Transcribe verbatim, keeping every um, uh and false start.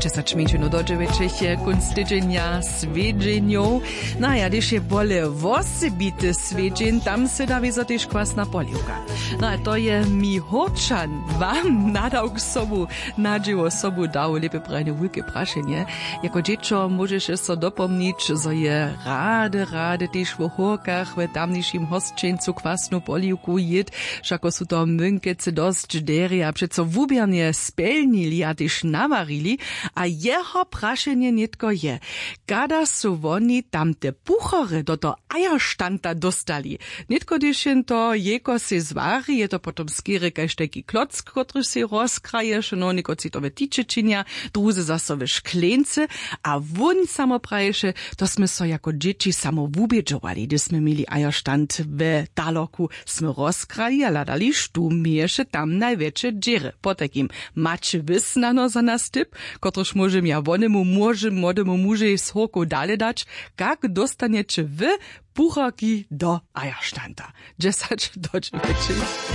Dźesać mjeńšinow do dźewjećich je kónc tydźenja swjedźenjow. No a ja, hdyž je bóle wosebity swjedźeń, tam sy da wězo tež kwasna poliwka. No a to je mi hórčan wam nadał k sobu, na dźěło sobu dał lěpje prajne wulke prašenje. Jako dźěćo móžeše so dopomnić, zo je rady rady tež wo hórkach w tamnišim hosćeńcu kwasnu poliwku jěd. Wšako su to mynkecy dosć derje a přeco wuběrnje spjelnili a tež nawarili. A jeho prašenje nětko je, kada su woni tamte puchorje do toho ajerštanta dóstali? Nětko hdyž jen to jejko sej zwari, je to potom skerje kaž tajki klock, kotryž sej rozkraješe, no někotři to we tiće činja, druzy zaso we škleńcy. A wón samo praješe, to smy so jako dźěći samo wubědźowali, hdyž smy měli ajerštant we taloku, smy rozkrali a hladali, štó měješe tam najwjetše dźěry. Potajkim, maće wy snano za nas tip, kotryž móžem ja wonemu młodemu mužej z hórkow dale dać? Kak dóstanjeće wy pucharki do ajerštanta? Dźesać do dźewjećich.